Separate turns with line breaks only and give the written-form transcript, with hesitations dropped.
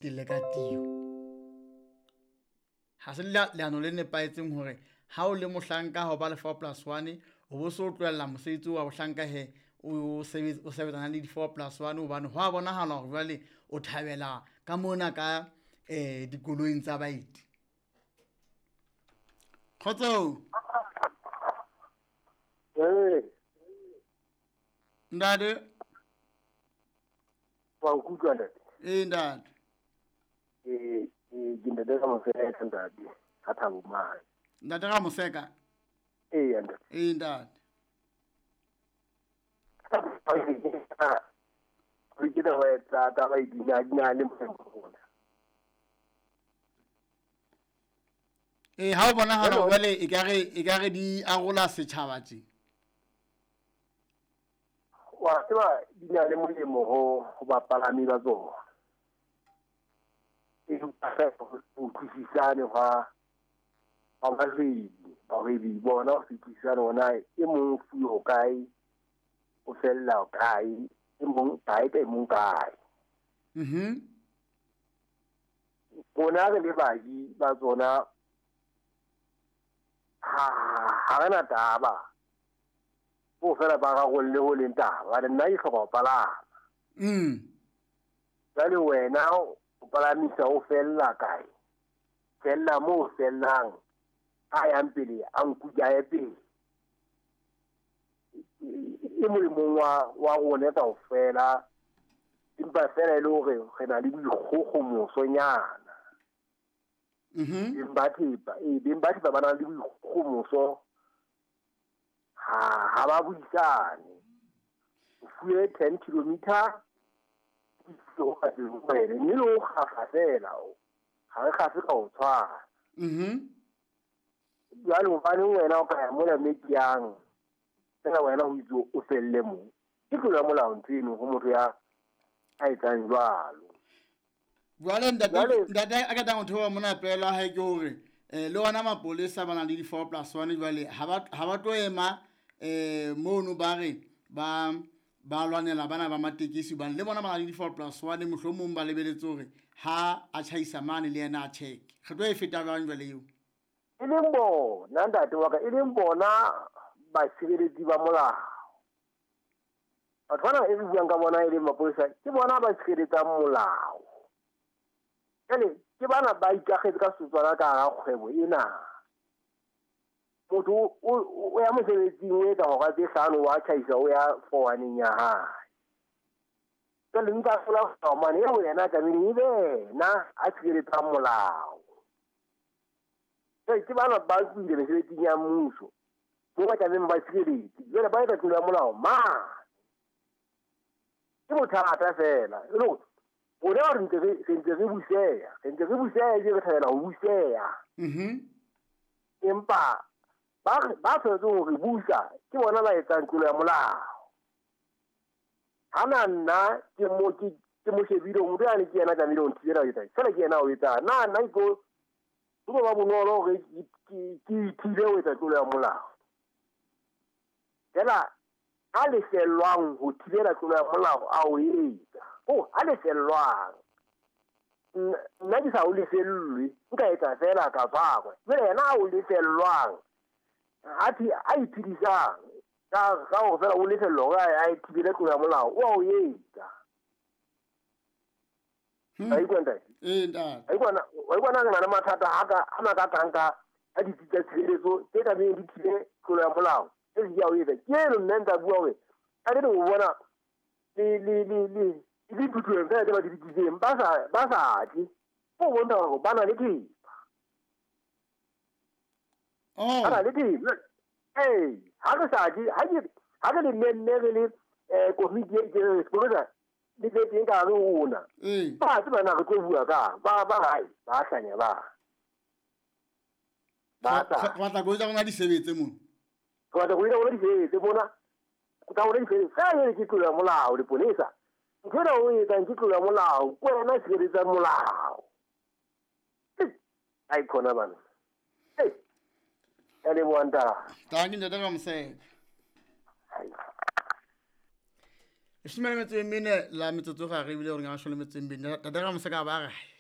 Telle ka tio. Ha se leano le nepahetseng hore ha o le mohlanka ha o ba le 4 plus 1 o bo so tlohella mosebetsi wa bohlanka he o sebetsana le di 4 plus 1 hobane ho a bonahala hore jwale o thabela ka mona ka dikoloing tsa baeti. Kgotso.
Ee.
Ntate.
Wa nkutlwa ntate?
Ee ntate.
Ee, ke ntate ka Moseka ntate, ka Thabo mane.
Ntate ka Moseka?
Ee ntate.
Ee ntate.
Ke taba tsa taba e di na le molemo.
Ee, ha o bonahala jwale e ka re di arola setjhaba tje.
Wa tseba di na le molemo ho bapalami ba tsona. Empa ho utlwisisane hwa bahwebi bona ho utlwisisane hona e mong fuwe ho kae, o fella ho kae, e mong kae ka e mong kae.
Mhm.
Rona re le baji ba tsona ha re na taba. Bo fela ba rarolle ho leng taba, nna ke hloka ho palama. Jwale wena o palamisa o fella kae? Fella moo fellang, a yang pele a nkuka a ye pele. E molemong wa rona kaofela, empa fela e le hore re na le boikgokgomosonyana.
Mhm.
Beng ba thepa ba na le boikgogomoso, ha ba buisane. O fuwe 10 kilometer mme le o kgafa fela, ha re kgafe ka ho tshwana.
Mhm.
Jwale hobaneng wena o ka ya mola mme ke yang fela wena ho itse o felle moo. Ke tlolo ya molao ntho eno ho motho ya a etsang jwalo.
Jwale ntate a ka tlang ho theoha mona pela hae ke hore le ona mapolesa ba nang le di 4 plus 1 jwale ha ba tlo ema mono ba re ba lwanela bana ba matekesi hobane le bona ba na le di 4 plus 1 mohlomong ba lebeletse hore ha a tjhaisa mane le yena a check. Re tlo e feta jwang jwale eo?
E leng bona ntate wa ka, e leng bona basireletsi ba molao. Batho bana e re buang ka bona e leng mapolesa, ke bona ba sireletsang molao. Jwale ke bana ba ikakgetse ka setswana ka hara kgwebo ena. Motho o ya mosebetsing o etsa hora tse 5 wa tjhaisa o ya fowaneng ya hae. Jwale nka sola mane eo yena tlamehile e be yena a sireletsang molao. Jwale ke bana ba tswile mesebetsing ya mmuso, mo ba tlamehileng ba sireletse. Jwale ba etsa tlolo ya molao mane. Ke bothata fela. E le hore rona re ntse re buseha, ebile re thabela ho buseha.
Mhm.
Empa ba tshwanetse hore busa ke bona ba etsang tlolo ya molao. Hana nna ke mo shebile motho yane ke yena tlamehile ho nthibela ho etsa. Fela ke yena o etsang. Nna nna ke tlo ba bonolo hore ke ithibe ho etsa tlolo ya molao. Fela a lefellwang ho thibela tlolo ya molao a o etsa. Oh, a lefellwang. Nna ke sa o lefellwe, nka etsa fela ka tshwarwa. Jwale yena a o lefellwang, a iphedisang ka hore fela o lefellwa hore a thibele tlolo ya molao, o a o etsa. A ikwa ntate?
Ee ntate.
A ikwa na re na le mathata a makakang ka a ditsi tsa tshireletso tse tlamehileng di thibe tlolo ya molao. Tse di a o etsa. Ke eno nna ntsa bua hore a re o bona le diphuthong fela tse ba di bitsitseng ba sa tle. Ho bontsha hore ba na le thepa.
Oh.
Ba na le thepa. Ee, ha re sa tle, ha re le nne re le komiti e ke re sepolesa le tle teng ka hare ho rona. Ba tseba na re tlo bua ka ba hae, ba hlanya ba. Ba tla.
Batla koloi tsa rona di sebetse mona.
Batla koloi tsa rona di sebetse mona. Ka hore di sebetse. Ka ene ke tlolo ya molao leponesa. Ntho ena o etsang ke tlolo ya molao, ke wena sireletsang molao. Ai khona bana. Ya leboha ntate.
Tanki ntate ka Moseka. Leshome le metso e mene la metsotso gare ebile gore ke mashome le metso e mebedi. Tate Ramoseka ba re.